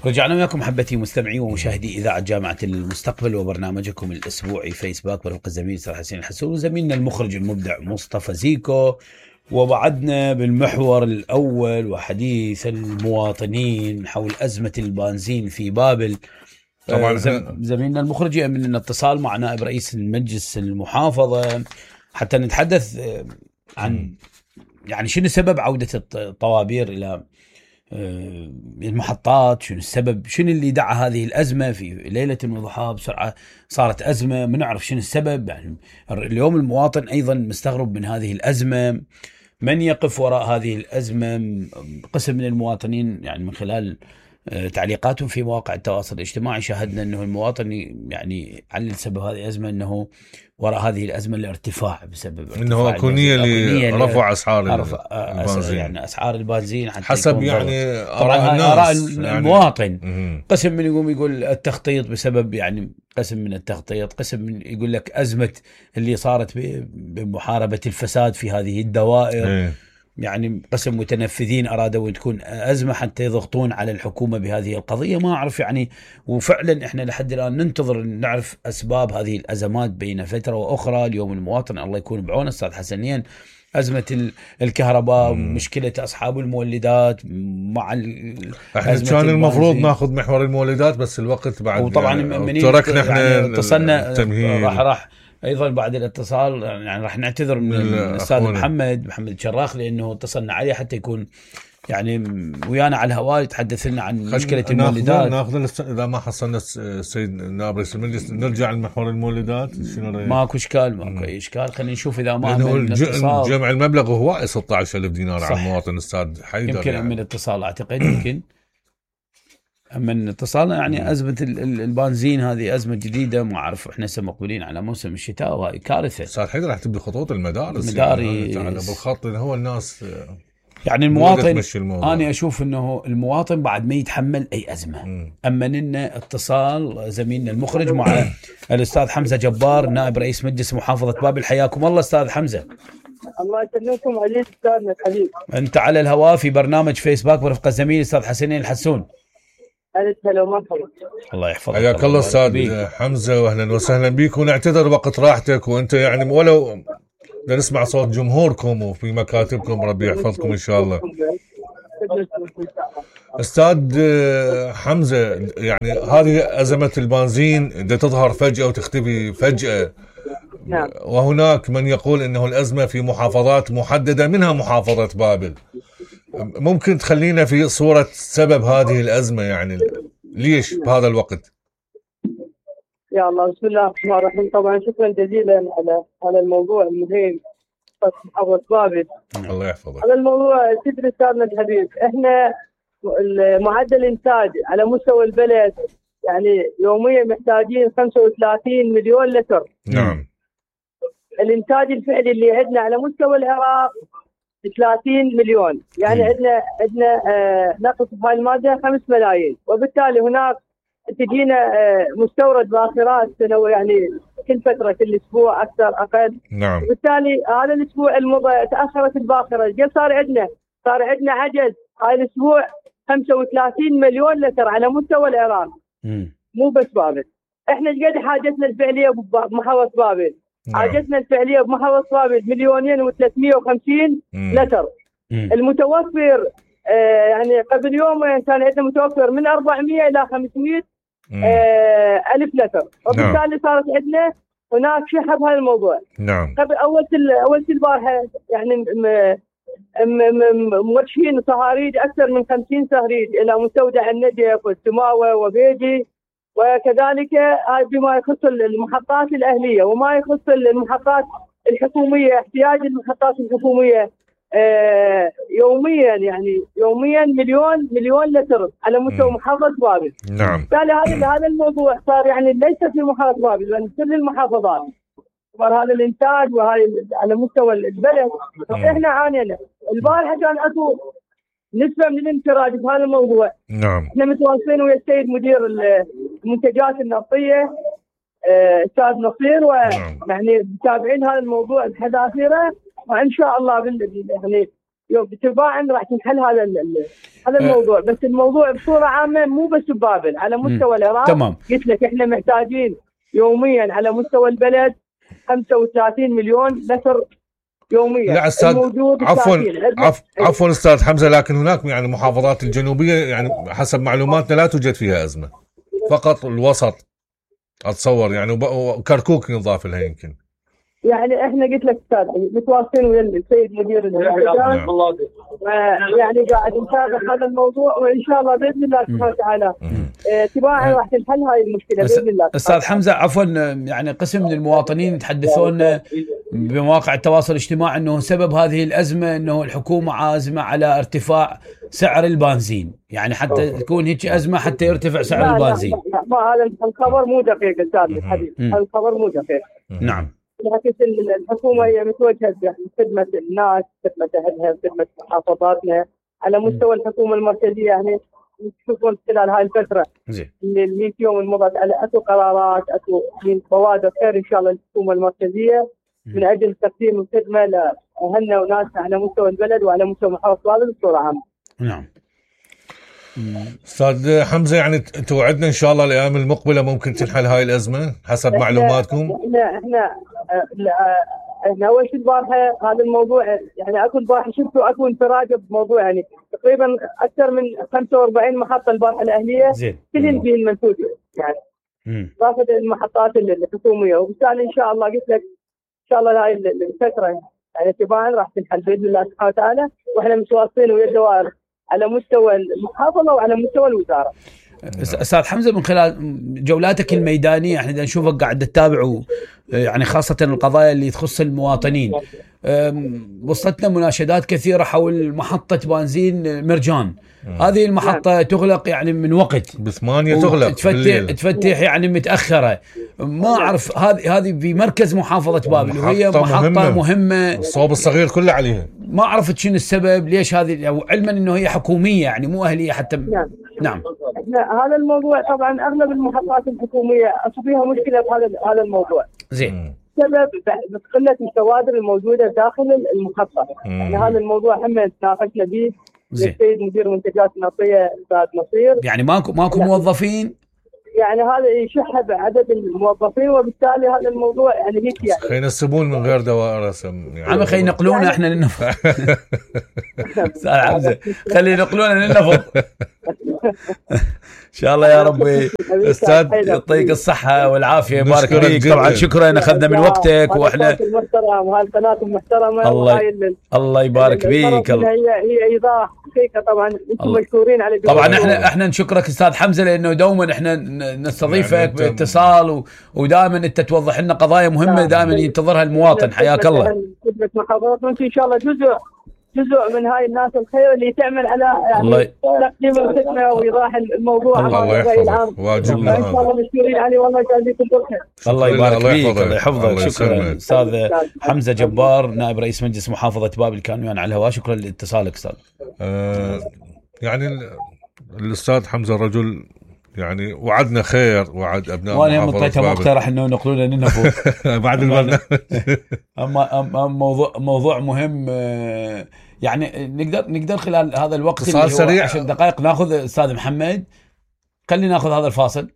رجعنا وياكم محبتي مستمعي ومشاهدي إذاعة جامعة المستقبل وبرنامجكم الأسبوعي فيسباك برفقة الزميل أستاذ حسين الحسون وزميلنا المخرج المبدع مصطفى زيكو. ووعدنا بالمحور الأول وحديث المواطنين حول أزمة البنزين في بابل. طبعا زميلنا المخرج يأمن لنا اتصال مع نائب رئيس المجلس المحافظة حتى نتحدث عن يعني شنو سبب عودة الطوابير إلى المحطات، شنو السبب، شنو اللي دعا هذه الأزمة في ليلة وضحاها بسرعة صارت أزمة، ما نعرف شنو السبب. يعني اليوم المواطن أيضا مستغرب من هذه الأزمة، من يقف وراء هذه الأزمة. قسم من المواطنين يعني من خلال تعليقاتهم في مواقع التواصل الاجتماعي شاهدنا أنه المواطن يعني علل سبب هذه الأزمة أنه وراء هذه الأزمة الارتفاع بسبب انه كونية لرفع اسعار البنزين، يعني اسعار البنزين حسب يعني آراء المواطن. قسم من يقول التخطيط بسبب يعني قسم من التخطيط، قسم من يقول لك أزمة اللي صارت بمحاربة الفساد في هذه الدوائر. يعني قسم متنفذين أرادوا تكون أزمة حتى يضغطون على الحكومة بهذه القضية. ما أعرف يعني، وفعلا إحنا لحد الآن ننتظر نعرف أسباب هذه الأزمات بين فترة وأخرى. اليوم المواطن الله يكون بعونه أستاذ حسنين، أزمة الكهرباء، مشكلة أصحاب المولدات مع احنا كان المفروض ناخذ محور المولدات بس الوقت بعد، وطبعا يعني تركنا احنا يعني اتصلنا راح ايضا بعد الاتصال يعني راح نعتذر من الاستاذ محمد الشراخ لانه اتصلنا عليه حتى يكون يعني ويانا على الهواء يتحدث لنا عن مشكلة المولدات. ناخذ اذا ما حصلنا السيد نائب رئيس المجلس نرجع لمحور المولدات. ماكو اشكال اي اشكال. خلينا نشوف اذا ما جمع المبلغ هو 16,000 دينار على المواطن استاذ حيدر. يمكن يعني. من اتصال اعتقد يمكن من اتصالنا يعني أزمة البنزين هذه أزمة جديدة، ما أعرف إحنا مقبلين على موسم الشتاء وهي كارثة. صار حيدر راح تبدي خطوط المدارس يعني بالخط هو الناس يعني المواطن. أنا أشوف إنه المواطن بعد ما يتحمل أي أزمة. أما لنا اتصال زميلنا المخرج مع الأستاذ حمزة جبار نائب رئيس مجلس محافظة بابل. حياكم الله أستاذ حمزة. الله يسلمكم عليك أستاذنا الحبيب. أنت على الهواء في برنامج فيسباك برفقة زميلي الأستاذ حسين الحسون. هلا ومرحبا. الله يحفظك. حياك الله استاذ حمزه واهلا وسهلا بك، ونعتذر وقت راحتك وانت يعني ولو نسمع صوت جمهوركم وفي مكاتبكم. ربي يحفظكم ان شاء الله. استاذ حمزه، يعني هذه ازمه البنزين تظهر فجاه وتختفي فجاه. نعم. وهناك من يقول انه الازمه في محافظات محدده منها محافظه بابل. ممكن تخلينا في صورة سبب هذه الأزمة، يعني ليش بهذا الوقت؟ يا الله، بسم الله الرحمن الرحيم. طبعا شكرا جزيلا على الموضوع المهم محافظة بابل. الله يحفظك. على الموضوع تدري استاذنا الحبيب، احنا معدل الانتاج على مستوى البلد يعني يوميا محتاجين 35 مليون لتر. نعم. الانتاج الفعلي اللي عندنا على مستوى العراق 30 مليون، يعني عندنا نقص في هاي الماده 5 ملايين، وبالتالي هناك تجينا مستورد باخرات سنويه يعني كل فتره كل اسبوع اكثر اقل. نعم. وبالتالي هذا الاسبوع المضى تاخرت الباخره، صار عندنا عجز هاي الاسبوع 35 مليون لتر على مستوى العراق. مو بس بابل، احنا ايش قد حاجتنا الفعليه بمحافظه بابل؟ حاجتنا الفعليه بمحافظه بابل 2,350,000 لتر. المتوفر يعني قبل يومين كان عندنا متوفر من 400 الى 500 الف لتر، وبالتالي صارت عندنا هناك شحب هذا الموضوع. نعم. قبل اول البارحه يعني موجهين صهاريج اكثر من 50 صهريج الى مستودع النجف والسماوه وبيجي، وكذلك بما يخص المحطات الأهلية وما يخص المحطات الحكومية. احتياج المحطات الحكومية يوميا مليون لتر على مستوى محافظة بابل. نعم. بالتالي هذا الموضوع صار يعني ليس في محافظة بابل بل كل المحافظات صار هذا الانتاج وهذا على مستوى البلد. احنا عانينا. البارحة كان اكو نسبة من الانفراج بهذا الموضوع. نعم. احنا متواصلين ويا السيد مدير المنتجات النفطية استاذ نصير، ويعني متابعين هذا الموضوع بحذافيره، وان شاء الله يعني يوم تباعا راح تنحل هذا الموضوع. بس الموضوع بصوره عامه مو بس ببابل، على مستوى العراق. تمام. قلت لك احنا محتاجين يوميا على مستوى البلد 35 مليون لتر يوميا. لا استاذ، عفوا استاذ حمزه، لكن هناك يعني المحافظات الجنوبيه يعني حسب معلوماتنا لا توجد فيها ازمه، فقط الوسط اتصور يعني، وكركوك ينضاف لها يمكن. يعني احنا قلت لك استاذ متواصلين ويا السيد مدير المهرجان، يعني قاعد نتابع هذا الموضوع، وان شاء الله باذن الله سبحانه وتعالى تباعا راح تنحل هاي المشكله باذن الله. استاذ حمزه عفوا، يعني قسم من المواطنين يتحدثون بمواقع التواصل الاجتماعي انه سبب هذه الازمه انه الحكومه عازمه على ارتفاع سعر البنزين، يعني حتى تكون هيك ازمه حتى يرتفع سعر البنزين. ما هذا الخبر مو دقيق استاذ الحبيب، هذا الخبر مو دقيق. نعم. بالعكس الحكومه هي متوجهه بخدمه الناس، خدمه اهلها، خدمه محافظاتنا. على مستوى الحكومه المركزيه يعني تشوفون خلال هاي الفتره اللي 100 يوم المضت على اكو قرارات، اكو بوادر خير ان شاء الله للحكومه المركزيه من اجل تقديم الخدمه لاهلنا وناسنا على مستوى البلد وعلى مستوى محافظه بابل بصوره عامه. نعم. استاذ حمزه، يعني توعدنا ان شاء الله الايام المقبله ممكن تنحل هاي الازمه حسب معلوماتكم؟ احنا اول شيء البارحه هذا الموضوع، يعني اكو البارحه شفتوا اكو انفراجه بموضوع، يعني تقريبا اكثر من 45 محطه البارحه الاهليه كلهم فيهم منتوج يعني اضافه المحطات الحكوميه، وبالتالي ان شاء الله قلت لك ان شاء الله هاي الفتره يعني تباعا راح تنحل باذن الله سبحانه وتعالى، واحنا متواصلين ويا الدوائر على مستوى المحافظه وعلى مستوى الوزاره. استاذ حمزه، من خلال جولاتك الميدانيه احنا نشوفك قاعد تتابع يعني خاصه القضايا اللي تخص المواطنين، وصلتنا مناشدات كثيره حول محطه بنزين مرجان. هذه المحطه تغلق يعني من وقت ب8 تغلق، تفتح يعني متاخره. ما اعرف هذه في مركز محافظه بابل، وهي محطه مهمه الصوب الصغير كله عليها. ما عرفت شنو السبب ليش هذه، علما انه هي حكوميه يعني مو اهليه حتى. نعم. هذا الموضوع طبعا اغلب المحطات الحكوميه فيها مشكله بهذا الموضوع. زين. سبب قله الكوادر الموجوده داخل المحطه. يعني هذا الموضوع هم تناقشنا به السيد مدير منتجات النفطيه استاذ نصير. يعني ماكو موظفين؟ يعني هذا يشح بعدد الموظفين، وبالتالي هذا الموضوع يعني هيك يعني خلينا السبون من غير دوائر يعني عم خلينا ينقلونا يعني احنا للنفط. استاذ حمزه خلينا ينقلونا للنفط. ان شاء الله يا ربي. استاذ يعطيك الصحه والعافيه، يبارك فيك. طبعا شكرا اخذنا من وقتك، واحنا وهاي القناه المحترمه. الله يبارك فيك. هي ايضاح حقيقه، طبعا انتم مشكورين على طبعا احنا نشكرك استاذ حمزه، لانه دوما احنا نستضيفك يعني باتصال ودائما انت توضح لنا قضايا مهمه دائما ينتظرها المواطن. حياك الله. خدمه محافظتنا وانت ان شاء الله جزء من هاي الناس الخير اللي تعمل على يعني تقديم الخدمه وايضاح الموضوع. الله يحفظك، واجبنا ان شاء الله مشكورين عليه، والله يجازيكم بالخير. الله يبارك فيك، الله يحفظك. شكرا استاذ حمزه جبار، نائب رئيس مجلس محافظه بابل، كان ويانا على الهواء. شكرا لاتصالك استاذ. يعني الاستاذ حمزه رجل يعني وعدنا خير، وعد ابناء وانا مطيته مقترح انه ينقلونا للنفط بعد البرنامج. اما موضوع مهم، يعني نقدر خلال هذا الوقت اللي هو سريع 10 دقائق ناخذ استاذ محمد. خلينا ناخذ هذا الفاصل.